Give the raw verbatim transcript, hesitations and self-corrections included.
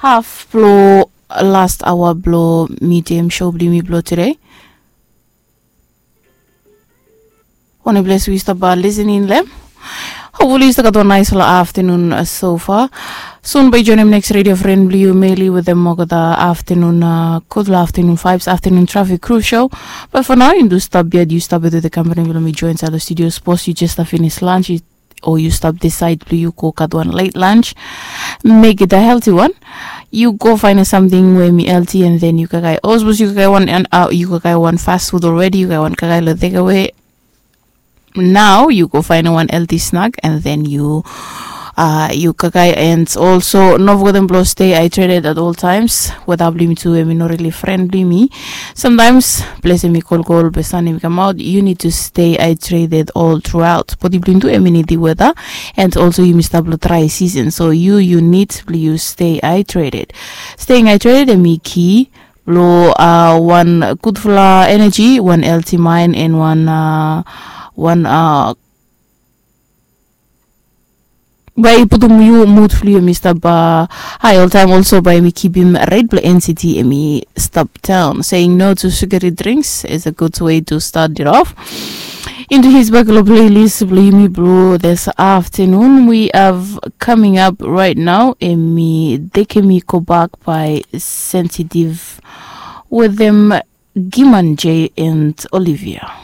haf blong last aoa blong midiam show blong yumi blong tude. Wanem ples we yu stap lisening long em? Hopefully yu stap gat wan naispela aftanun sofa. Sun bae yu joinim neks redio fren blong yu, Meli, wetem olgeta aftanun, gudfala aftanun vibes, aftanun trafik kru show. Bat for nao yu do stap yet, yu stap yet wetem kampani blong mi join insait long studio. Sapos yu jes stap finis lunch, o yu stap disaid blong yu go gat wan late lunch, make it a healthy one. Yu go fainim samting we mi healthy, and then yu kaikai. O sapos yu kaikai wan, and yu kaikai wan fast food already, yu kaikai wan kaikai long takeaway. Nao yu go fainim wan healthy snack, and then yu yu kaikai. And also no fogetem blong stay hydrated at all times. Weta blong yumi tu em i no rili fren blong yumi. Sometimes ples em i kolkol be san em i kamaot. You need to stay hydrated all throughout. Bodi blong yumi tu em i nidim weta, and also yumi stap long dry season, so yu yu nid blong yu stay hydrated. Staying hydrated em i ki blong wan gudfala energy, wan healthy mind, and wan wan bae i putum yu mud blong yu em i stap hae oltaem. Also bae em i kipim ret blong NCT em i stap daon. Saying no to sugary drinks is a good way to start it off. Into his bak long playlist blong yumi blong this afternoon we have coming up right now, em i tekem i go bak by Sensitive wetem Giman J and Olivia.